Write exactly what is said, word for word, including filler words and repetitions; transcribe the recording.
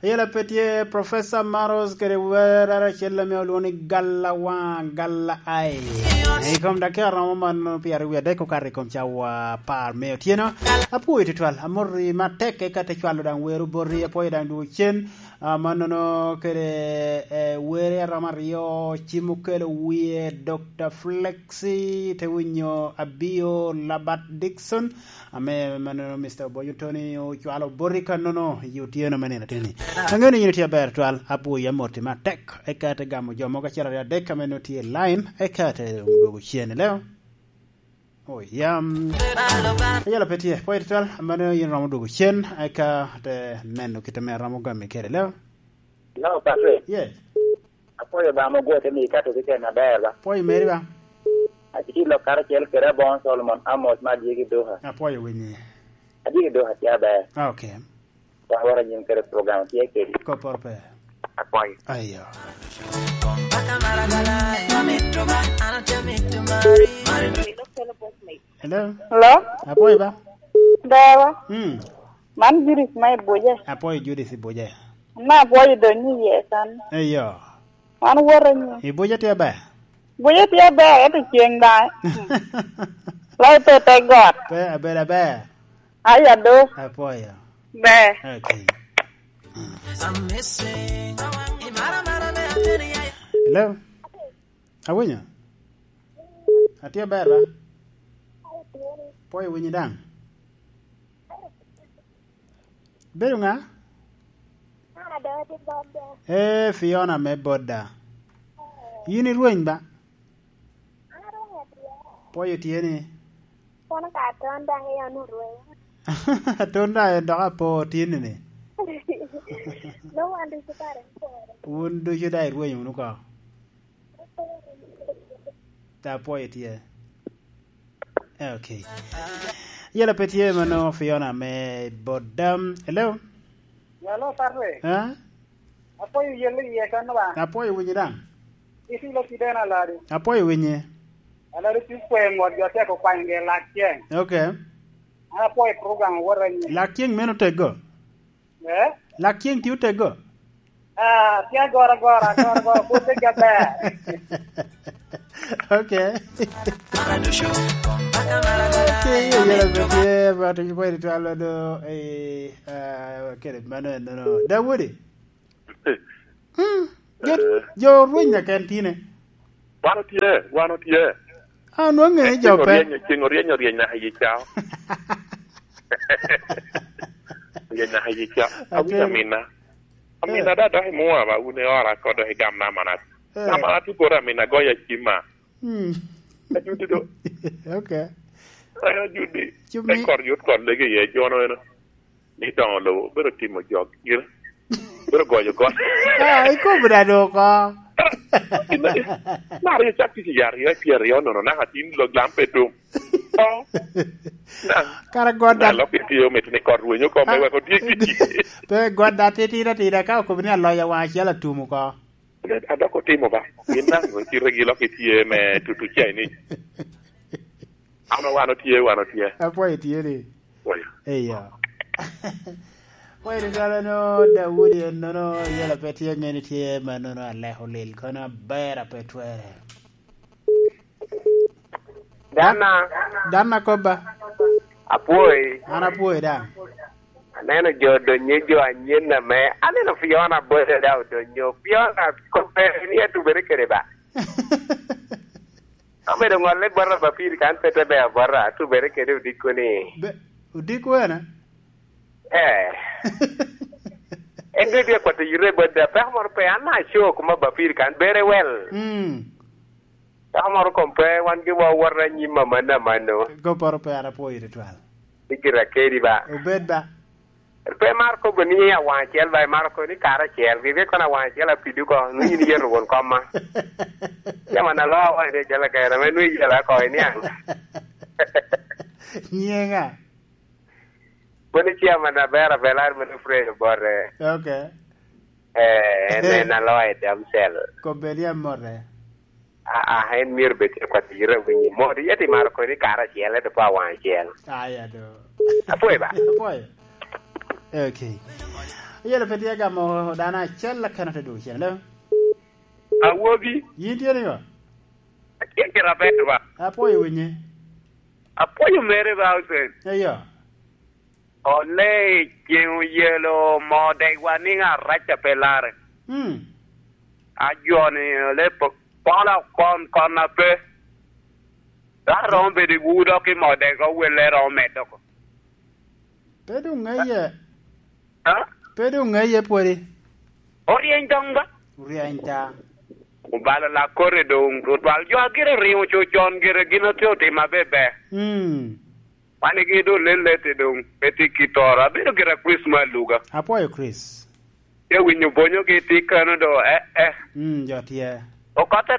Ayela pe tye Professor Maros kede werre acel ame olwongo ni Galla Waŋ, Galla Ai. I kom dakika romo man pyeraryo wie adek okato i kom cawa apar me otyeno. Apwoyo tutwal, amoti matek, eka te cwalo daŋ wer oboti, apwoyo daŋ dwogo cen. Ah, mannono kede, eh, were aromo aryo, Cim Okelo Wie, Dokta Flexi, te winyo Abio Labat Dixon, ame mannono Mister Obonyo Tony ocwalo boti kannono i otyeno me nino ateni. Aŋeo ni yin itye aber twal, apwoyi amoti matek, eka te gamo jo mogo acel aryo adek ame nongo tye i line, eka te dwogo cen i leo. Oh, yam. Ayela pe tye, pwoyo tutwal, mano yin romo dwogo cen, eka te neno kit ame romo gami kede leo. Hello, Patrick. Yes. Apwoyo ba mo gwote ni ikato keken aber ba. Pwoyo meri ba. Atye lok karacel kede Abongo Solomon Amos ma adye ki Doha. Apwoyo winyi. Adye ki Doha tye aber. Ah, okay. Wan wara nyin kede program tye kedi. Kopor pe. Apwoyo. Ayo. Hello? Hello? Apwoyo ba? Dawa. Mm. Man Judith ma i Buje. Apwoyo Judith i Buje. Na apwoyo donyo iye kan. Eyo. Wan woto nyo. I Buje tye ber? Buje tye ber, ento ceng daŋ. Lai pe te got. Pe abedo aber. Aya do. Apwoyo. Ber. Okay. Hello? Awinyo? Atye aber, ba? Pwoyo winyi daŋ. Bedo ŋa? Ee, Fiona me Boda. Yin irweny ba? Pwoyo tye ni. Kono ka aton daŋ i an orweny. Aton daŋ en dok apo tye ni ni. Nongo wan ducu kare ipore. Wun ducu daŋ irweny wunu ko. Ta pwoyo tye. Eh, okay. Yela pe tye mano Fiona me Boda. Hello? Hello, Patrick. Ha? Apwoyo yelle iye kan ba? Apwoyo winyi daŋ. Iti lo kideno aladi. Apwoyo winyi. Aladi tye kwe ngot jo tek okwany ge lak ceng. Okay. An apwoyo program wot anyi. Lak ceng meno tego? Eh? Lak ceng tye otego? Ah, tye agora agora, agora agora, pwod tye gaber. Okay. Okay, yela pe tye, but you wait twal do, eh, ah, kede mano enono. Dawudi? Mm. Jo, jo rweny na ken tine. Wan otye, wan otye. Ah, nwaŋ ŋe jo pe. Ceng oryeny, ceng oryeny, oryeny naka i ca. Oryeny naka i ca. Awinyo amina. Amina da dok i mwa ba wun i ora ko dok i gam na manat. Eh. Na manat i bora amina goya cima. Mm. Ajudi do. Okay. Ayo judi. Cumi. E kor yut kor lege ye jono eno. Ni doŋo lobo, obedo timo jok gire. Obedo goyo got. Ah, ikobo da do oko. Mar yo cak tic i aryo, i pyeraryo nono, naka tin lo glam pe dum. Oh. Kara got da. Lok itye omito ni kot rwenyo kom me weko tye kici. Pe got da titira tira, ka okobo ni aloyo waŋ acel atum oko. Adok otimo ba. Gin daŋ ocito gi lok itye me tutu Chinese. Ano wan otye, wan otye. Apwoyo tye ni. Apwoyo. Eyo. Apwoyo ni kala no Daudi en nono, yela pe tye ŋeni tye ma nono aleko lil kono aber ape twere. Dana. Dana kobba. Apwoyi. An apwoyi daŋ. Aneno jo donye jo anyen ame. Aneno Fiona bote da odonyo. Fiona kobbe ni atubere kede ba. Obedo ŋolle bota Bapir kan pe te bea bota, atubere kede odiko ni. Be, odiko ena? Eh. En dwe dwe kwato yite bot da, peko moro pe, an na aco kuma Bapir kan, bere wel. Mm. Peko moro kom pe, wan gi wa wot anyim amanno amanno. Go poro pe, an apwoyo tutwal. Ikira kedi ba. Obed ba. Pe mar kobo ni awaŋ acel ba, imaro kobo ni kare acel, gige kono awaŋ acel apido ko, nwe yin iyeto won komma. Yama na lo awaŋ acel akera, me nwe iyela ko iniaŋ. Nyiŋa? Mano chairman aber abelar mano Fred Obote. Okay. Eh, en en aloyo damsel. Kobedi amote. Ah, ah, en myero bed tye kwat ira winyi. Modi, yet imaro koni kare acel, ento pe awaŋ acel. Aya do. Apwoyo ba? Apwoyo. Okay. Oyelo pe tye gamo dano acel keken ote dwogo cen, alo? Awobi. Yin tye nigo? Atye kite aber ba. Apwoyo winyi. Apwoyo mere ba, Hussein. Eyo. Ole ceŋ oyelo moo degwa niŋ araca pe larre. Hmm. Ajoni ole po-, pola okon kon ape. Ka romo bedo i wu dok i moo degwa welle romo medde oko. Pe doŋ ŋeye. Ha? Pe doŋ ŋeye pwodi. Oryeny doŋ ba? Oryeny ta. Obalo lakore doŋ, tutwal jo a gire oriŋo co con gire gin otye otimo abeber. Mm. Wan igi doŋ lellete doŋ, pe tye kit oro. Abedo gira Chris me aluga. Apwoyo Chris. Te winyo bonyogi tye kano do, eh, eh. Mm, jo tye. Okotte